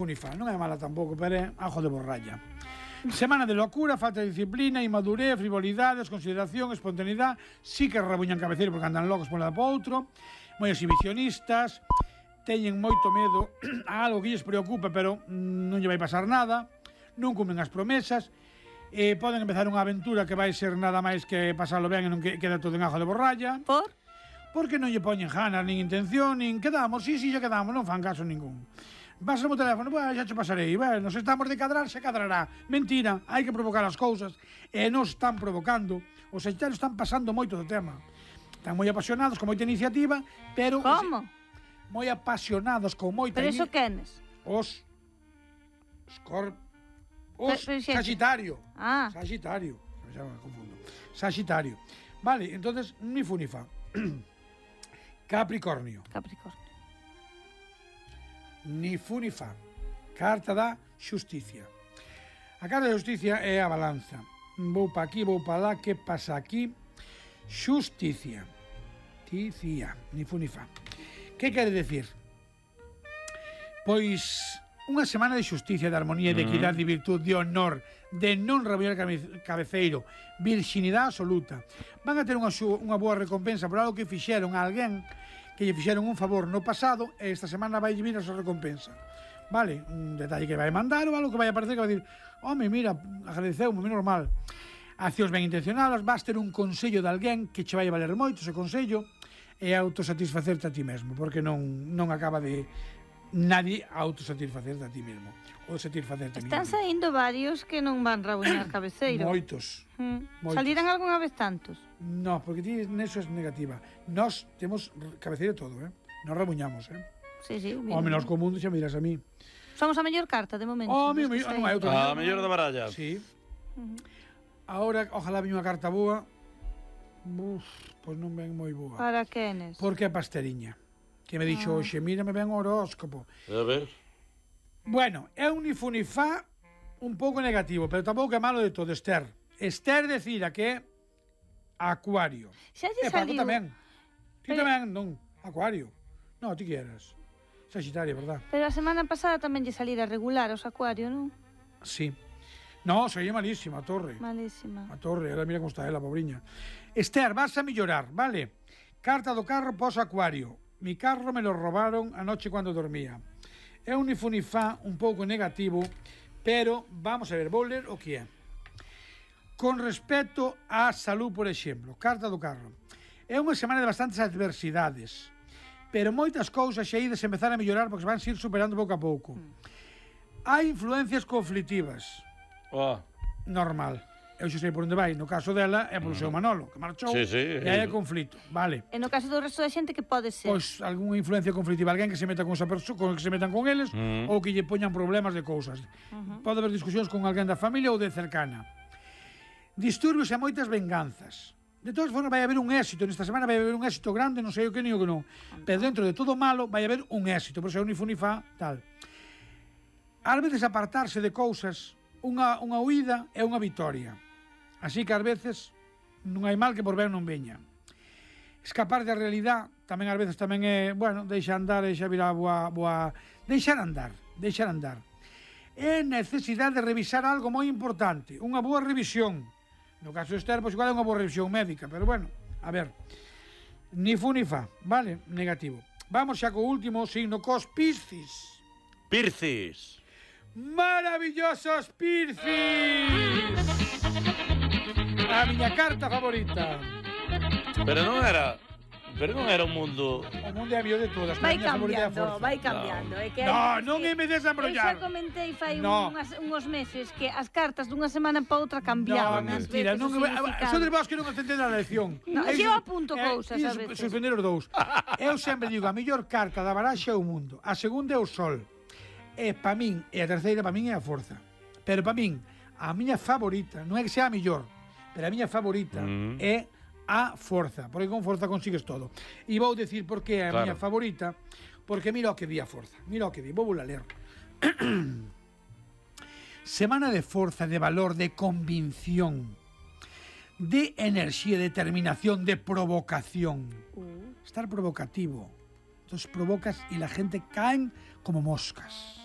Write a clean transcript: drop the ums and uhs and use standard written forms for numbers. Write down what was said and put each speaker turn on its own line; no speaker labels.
Unifa, non é mala tampouco, pero é ajo de borralla. Semana de locura, falta de disciplina, inmadurez, frivolidade, desconsideración, espontaneidade. Sí que rebuñan cabeceiro porque andan locos por un lado para outro. Moi exhibicionistas. Teñen moito medo a algo que lles preocupa, pero non lle vai pasar nada. Non cumplen as promesas. Poden empezar unha aventura que vai ser nada máis que pasarlo ben e non queda todo en ajo de borralla.
Por?
Porque non lle poñen ganas, nin intención, nin quedamos, sí, xa quedamos, non fan caso ningún. Pásame o teléfono, xa che pasarei, nos estamos de cadrar, se cadrará. Mentira, hai que provocar as cousas, e nos están provocando. Os sagitarios están pasando moito do tema. Están moi apasionados, con moita iniciativa, pero...
Como?
Moi apasionados, con moita...
Pero iso quenes?
Os Sagitario.
Ah.
Sagitario. Xa me confundo. Sagitario. Vale, entonces, ni fu ni fa. Capricornio. Ni fu ni fa. Carta da xusticia. A carta da xusticia é a balanza. Vou pa aquí, vou pa lá, que pasa aquí? Xusticia. Ticia. Ni fu ni fa. Que quere decir? Pois unha semana de xusticia, de armonía, de equidade, de virtud, de honor, de non rabuñar cabeceiro, virxinidade absoluta. Van a ter unha boa recompensa por algo que fixeron a alguén que lle fixeron un favor no pasado e esta semana vai vir a súa recompensa. Vale? Un detalle que vai mandar ou algo que vai aparecer que vai dir home, mira, agradeceu-me, normal. Accións ben intencionadas, vas ter un consello de alguén que che vai valer moito ese consello e autosatisfacerte a ti mesmo, porque non acaba de nadie autosatisfacerte a ti mesmo ou satisfacerte a ti mesmo.
Están saindo varios que non van rabuñar cabeceiro.
Moitos.
Saliran algunha vez tantos?
No, porque ti neso é negativa. Nós temos cabeceiro todo, Nos rabuñamos,
Sí, sí.
O menos co mundo xa miras a mí.
Somos a mellor carta, de momento.
Non hai outra.
A mellor da baralla.
Sí. Ahora, ojalá viña unha carta boa. Pois non ven moi boa.
Para quenes?
Porque é pasteriña. Que me dixo hoxe, mira, me ven o horóscopo.
A ver.
Bueno, é un ni fu ni fa un pouco negativo, pero tampouco é malo de todo, Esther. Esther decida que é Acuario.
Xa lle
Paco
saliu...
tamén. Ti tamén, non. Acuario. Non, ti quieras. Sagitario, verdad?
Pero a semana pasada tamén lle salira regular os Acuario, non?
Sí. No, sería malísima, a torre.
Malísima.
A torre, ela mira como está ela, pobriña. Esther, vas a mellorar, vale? Carta do carro pos Acuario. Mi carro me lo robaron anoche cuando dormía. É un ni fu ni fa un pouco negativo, pero vamos a ver, vou ler o que é. Con respecto á salud, por exemplo, carta do carro. É unha semana de bastantes adversidades, pero moitas cousas xa ides empezar a mellorar porque se van ir superando pouco a pouco. Hai influencias conflictivas. Normal. Eu xa sei por onde vai. No caso dela é polo seu Manolo, que marchou, e hai conflito. Vale.
E no caso do resto da xente, que pode ser?
Pois algunha influencia conflictiva, alguén que se meta con esa persoa, que se metan con eles, ou que lle poñan problemas de cousas. Pode haber discusións con alguén da familia ou de cercana. Disturbios e moitas venganzas. De todas formas, vai haber un éxito. Nesta semana vai haber un éxito grande, non sei o que ni o que non. Pero dentro de todo malo, vai haber un éxito. Por eso é un ni fu ni fa, tal. Ás veces apartarse de cousas, unha huida é unha vitoria. Así que ás veces non hai mal que por ben non veña. Escapar da realidade tamén ás veces tamén é, deixa andar e xa virá boa... Deixar andar. É necesidade de revisar algo moi importante, unha boa revisión. No caso de Esther, pois igual é unha boa revisión médica, pero a ver. Ni fu ni fa, vale? Negativo. Vamos xa co último signo, cos Piscis.
Piscis.
Maravillosos Piscis! A miña carta favorita.
Pero non era un mundo...
O mundo é a mellor de todas.
Vai cambiando.
Non me des a embrollar.
Eu xa comentei fai uns meses que as cartas dunha semana para outra cambiaban.
Non, mentira. Sodes vos que non entendedes a lección.
Eu apunto cousas a veces.
Suspender os dous. Eu sempre digo, a mellor carta da baraxa é o mundo. A segunda é o sol. E para min, e a terceira para min é a forza. Pero para min, a miña favorita, non é que sea a mellor, pero a miña favorita é a forza, porque con forza consigues todo. E vou decir por que é a miña favorita, porque mira o que di a forza. Vou a ler. Semana de forza, de valor, de convicción, de enerxía, de determinación, de provocación. Estar provocativo. Entonces provocas y la gente caen como moscas.